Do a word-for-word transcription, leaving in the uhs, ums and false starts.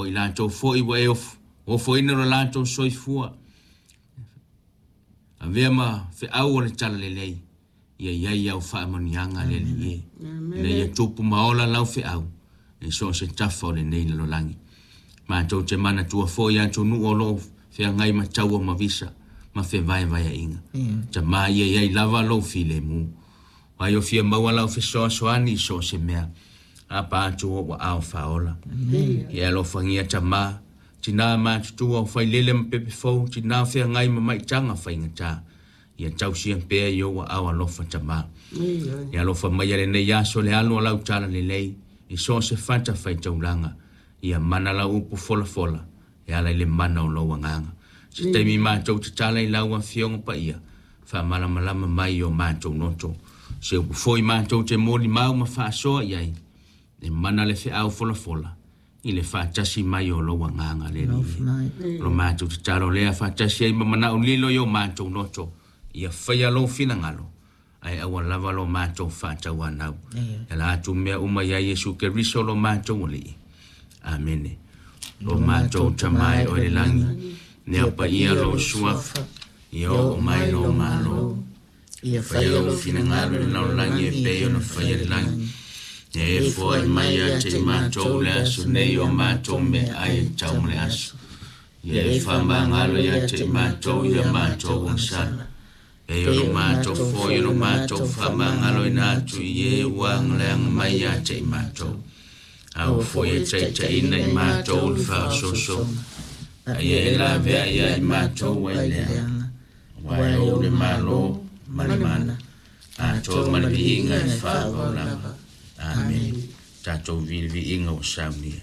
O i latou foi ua e ofoina lo latou soifua. Avea ma feau o le talalelei. Ia iai au faamanuiaga le Alii e. Ina ia tupu ma ola lau feau. E so o se tafa o lenei lalolagi. Matou te manatua foi atunuu o loo feagai ma taua ma visa ma fevaevaeaiga. Tamā ia iai lava lou filemu. Ai o fia maua lau fesoasoani i so o se mea. Apa atu o ua ao faaola. Ia alofagia tamā, tinā matutua o failele ma pepe fou, tinā feagai ma maitaga faigata. Ia tausia pea i ou aao alofa tamā. Ia alofa mai lenei aso le alu o lau talalelei, i so o se fata faitaulaga. Ia mana lau upu folafola, e ala i le mana o lou agaga. Se taimi matou tatala i lau afioga paia, faamalamalama mai o matou loto. Se upu foi matou te molimau ma faasoa i ai, e mana le feau folafola, i le faatasi mai o lou agaga le Alii. O lo matou tatalo lea faatasi ai ma manao lilo i o matou loto, ia faia lou finagalo, ae aua lava lo matou faatauanau. E la atu mea uma ia Iesu Keriso lo matou Alii. Amene. Lo matou Tama e oe i le lagi, ia paia lou suafa, ia oo mai lou Malo, Ia faia faia lou lou finagalo i le finagalo i le lalolagi e lalolagi e pei pei ona ona faia faia i le i le lagi. lagi. Ia e Ia e foai foai mai mai ia ia te te i matou matou le le aso aso nei nei o o matou matou meaai meaai e e tau tau ma ma le le aso. aso. Ia Ia e e faamagalo faamagalo ia ia te i te matou matou ia ia matou matou agasala. agasala. Pei Pei ona ona matou matou foi foi ona ona matou matou faamagaloina faamagaloina atu atu i i e e ua ua agaleaga agaleaga mai mai ia ia te te i i matou. matou. Aua Aua foi foi e e taitaiina taitaiina i i matou matou le le faaosoosoga. faaosoosoga. Ae Ae ia e ia e lavea lavea ia ia i i matou matou ai ai leaga. leaga. Aua Aua e e ou ou le le Malo Malo ma ma le le mana. mana. Atoa Atoa ma ma le le viiga viiga e e faavavau faavavau lava. lava. Amene. Amene. Tatou viliviiga ua saunia.